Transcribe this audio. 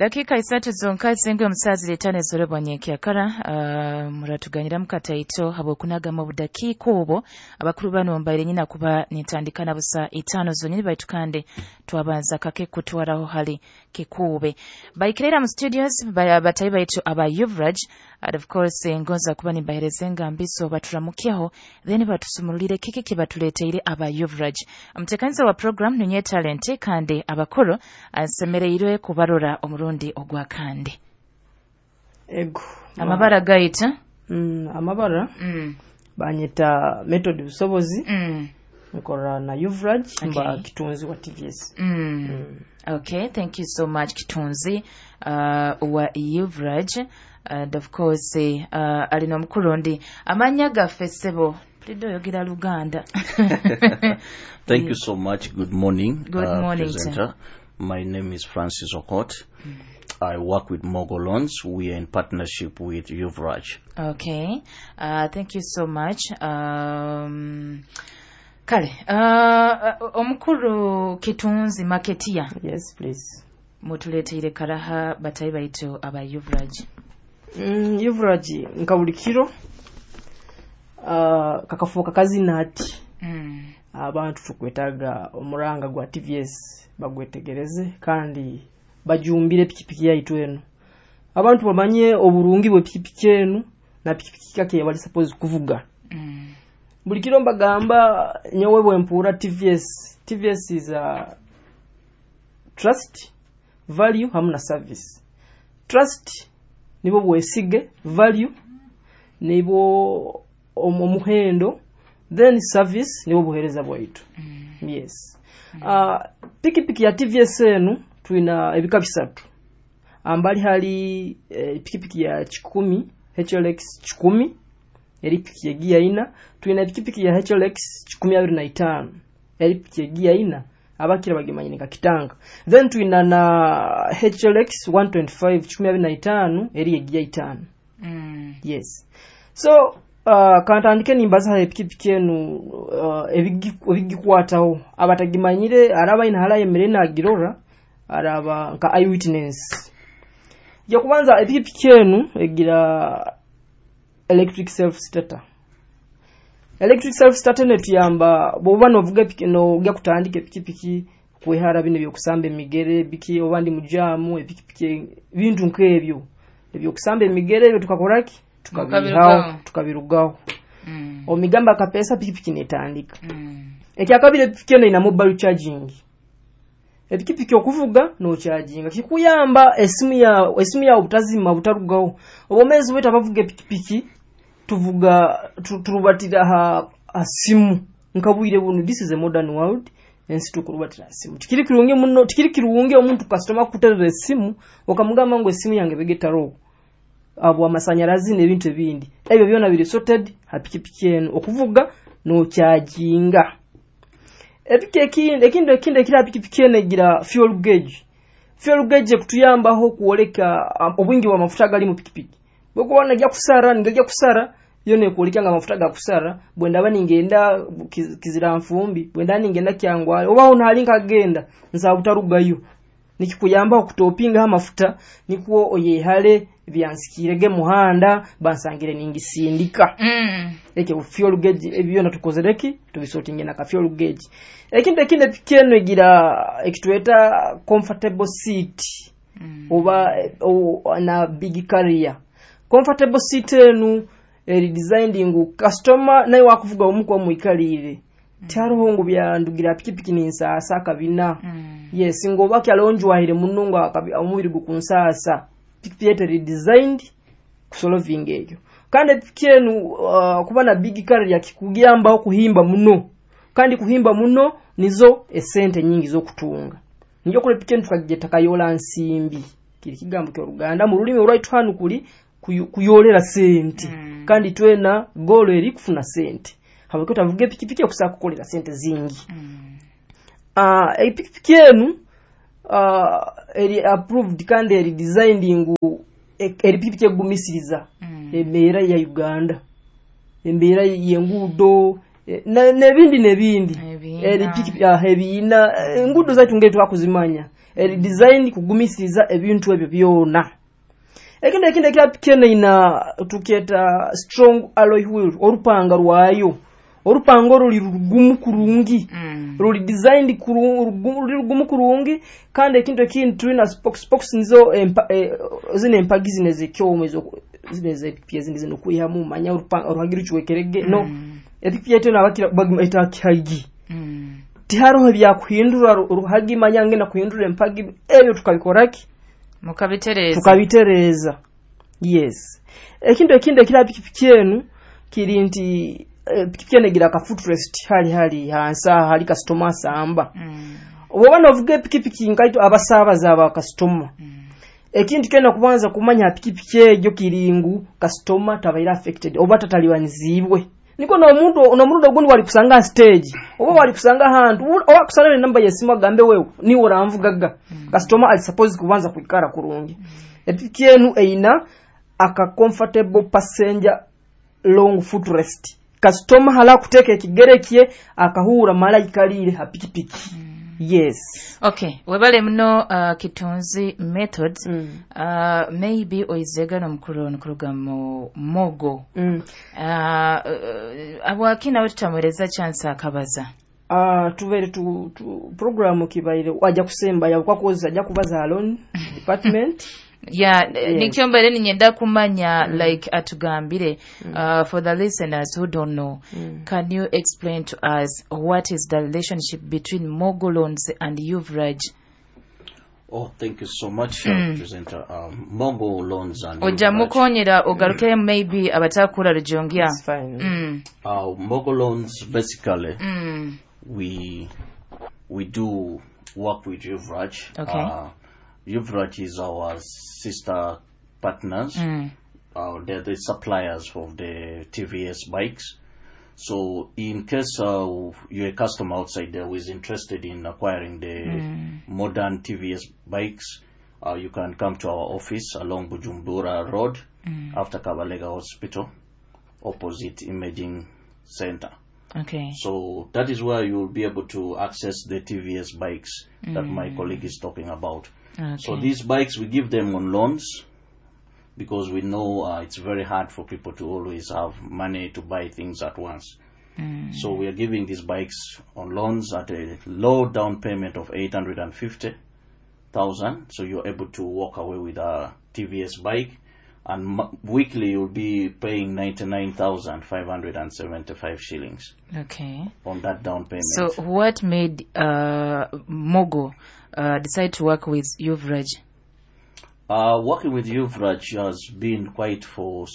Edakika 3 zonka zingwe omusazi letane zorebwa nyenkyakara. Muratuganyira mukataito habwokunagama obudakiika obwo abakuru bano mbaire nyina kuba nintandikana busa 5 zonyini, baitu kandi twabanza kake kutwaraho hali kikuube baikirera mu studios batayi baitu aba Yuvraj. And of course ngonza kuba nimbahereza engambiso baturamukyeho, then batusumulire kiki kibatuleteire aba Yuvraj. Omutekaniza wa program ninye Talent, kandi abakuru nsemereirwe kubarora omurundi ogwa kandi. Ego. Amabara gaita? Amabara banyeta Method Busobozi. Nkora na Yuvraj. Okay. Mba kitunzi wa TVS. Okay, thank you so much Kitunzi wa Yuvraj. And of course alina omukulu amanya gaffe ssebo mpulidde oyogera Luganda. Thank you so much. Good morning. Good morning, presenter. Sir. My name is Francis Okot. I work with Mogo Loans. We are in partnership with Yuvraj. Okay. Thank you so much. Kale, omukulu Kitunzi Maketia. Yes, please. Mutuleteire karaha batayi baitu aba Yuvraj. Yuvraj nka buli kiro kakafuuka kazina ati. Abantu tukwetaga omuranga gwa TVS bagwetegereze kandi bajumbire pikipiki yaitu eno. Abantu bamanye oburungi bwe pikipiki eno na pikipiki kake bali suppose kuvuga. Buli kiro mbagamba nyowe bwe mpuura TVS. TVS is a trust, value hamu na service. Trust nibo bwesige, value nibo omuhendo, then service nibo buhereza bwaitu. Yes. Pikipiki ya TVS enu tuina ebika bisatu. Ambali hali pikipiki ya 10 HLX 10 eri pikipiki ya gia ina. Tuina pikipiki ya HLX 125 eri pikipiki ya gia ina, abakira bagimanyine kakitanga. Then tuina na HLX 125 125 eri ya gia 5. Yes. So kantandike nimbaza epikipiki enu ebigikwataho abatagimanyire araba ina hala yemere nagirora araba nka eyewitness. Ya kubanza epikipiki enu egira electric self starter. Electric self starter netuyamba bwoba novuga nogya kutandika epikipiki kwehara bino byokusamba emigere biki oba ndi mujamu epikipiki bintu nkebyo ebyokusamba emigere ebyo tukakoraki tukabirugaho. Omigamba kapesa pikipiki netandika. Ekyakabiri epikipiki eno ina mobile charging. Epikipiki okuvuga no charging kikuyamba esimu ya obutazima butarugaho. Obomezi wetu abavuga epikipiki tuvuga turubatira ha simu nkabwire bunu. This is a modern world ensi tukurubatira simu. Tikiri kirungi muno, tikiri kirungi omuntu customer kuterera esimu okamugamba ngo esimu yange begetaro abo amasanyarazi n'ebintu ebindi. Ebyo byona biri sorted ha pikipiki eno okuvuga no charginga. Epikipiki ekindi ekira pikipiki eno egira fuel gauge. Fuel gauge kutuyambaho kuoleka obwingi bwa mafuta gali mu pikipiki. Bwekuba najya kusara ngajya kusara yo nekulika nga mafuta ga kusara bwenda bani ngenda kizira mfumbi bwenda ningenda kyangwa oba ono hali nkagenda nza butarugayo nikikuyamba okutopinga amafuta nikwo oyehale byansikirege muhanda bansangire ningisindika. Eke fuel gauge ebyo natukozereki tubisortinge na ka fuel gauge. Ekindi ekindi pikeno egira ekitweta comfortable seat. Oba na big carrier. Comfortable seat enu eri designed ngu customer naye wakuvuga omuko omuikalire. Tyaroho ngu byandugira pikipiki ninsaasa kabina. Yes, ngoba kyalonjwahire munungu omubiri gukunsaasa. Pikipiki eri designed kusolving eyo. Kandi pikipiki enu kuba na big carrier kikugiyambaho kuhimba muno. Kandi kuhimba muno nizo esente nyingi zo kutunga. Niyo kule pikipiki enu tukagiyeta kayola nsimbi. Kiri kigambo kya Luganda mu rulimi olwaitu hanu kuli kuyolera sente. Kandi twena golo eri kufuna sente. Habako tavuge pikipiki okusaka kukolera sente zingi. Pikipiki enu eri approved kandi eri designed ngu eri pikipiki egumisiriza embeera ya Uganda, embeera y'enguudo n'ebindi n'ebindi. Eri pikipiki ebiina enguudo zaitu ngeri twakuzimanya. Eri design kugumisiriza ebintu ebyo byona. Ekindi ekira piki eno ina tukyeta strong alloy wheel. Orupanga rwayo, orupanga ruli rugumu kurungi, ruli designed ruli rugumu kurungi. Kandi ekintu ekindi, tulina spokes. Spokes nizo zino empagi zino ezekyoma, ezo zino ezepiki ezindi zino kwihamu manya oruhagi rucwekerege no epiki yaitu nabakira bagimeta kihagi. Tihariho ebyakuhindura ruhagi, manya ngenda kuhindura empagi, ebyo tukabikoraki? Mukabitereeza. Tukabitereeza, yes. Ekintu ekindi ekira pikipiki enu kiri nti pikipiki enu egira ka footrest hali hansi aha hali kasitoma asamba. Oba novuga epikipiki nkaito abasaabaza aba kasitoma, ekintu kyona kubanza kumanya ha pikipiki egyo kiri ngu kasitoma tabaire affected oba tatalibaniziibwe, niko n'omuntu n'omurundi ogundi wali kusanga ha stage oba wali kusanga ahantu oba kusanga nenamba yesimu agambe, "Wewe niwe oranvugaga." Kasitoma ali supposed kubanza kwikara kurungi. Epiki enu eina aka comfortable passenger long footrest. Kasitoma hala kuteeka ekigere kye akahuura mala ikaliire ha pikipiki, yes. Okay, webale muno, Kitunzi Methods. Maybe oizega nomukuru nkuruga mu Mogo. Abwaki nawe tutamuhereza chance akabaza? Tubaire tu programu kibaire wajja kusemba yakwakoza ajja kubaza loan department. Yeah. Yes. Nikyo mbaire ninyenda kumanya, like atugambire, for the listeners who don't know, can you explain to us what is the relationship between Mogo Loans and Uvraj? Oh, thank you so much, presenter. Mogo Loans and Ojja Uvraj. Mukonyera ogaruke maybe abatakura rujongya. It's fine. Mogo Loans, basically, we do work with Uvraj. Uvraj is our sister partners. They're the suppliers of the TVS bikes. So in case you're a customer outside there who is interested in acquiring the modern TVS bikes, you can come to our office along Bujumbura Road after Kabalega Hospital, opposite Imaging Center. So that is where you will be able to access the TVS bikes that my colleague is talking about. So these bikes, we give them on loans because we know it's very hard for people to always have money to buy things at once. So we are giving these bikes on loans at a low down payment of 850,000. So you're able to walk away with a TVS bike, and weekly you'll be paying 99,575 shillings on that down payment. So what made Mogo decide to work with Uvraj? Working with Uvraj has been quite for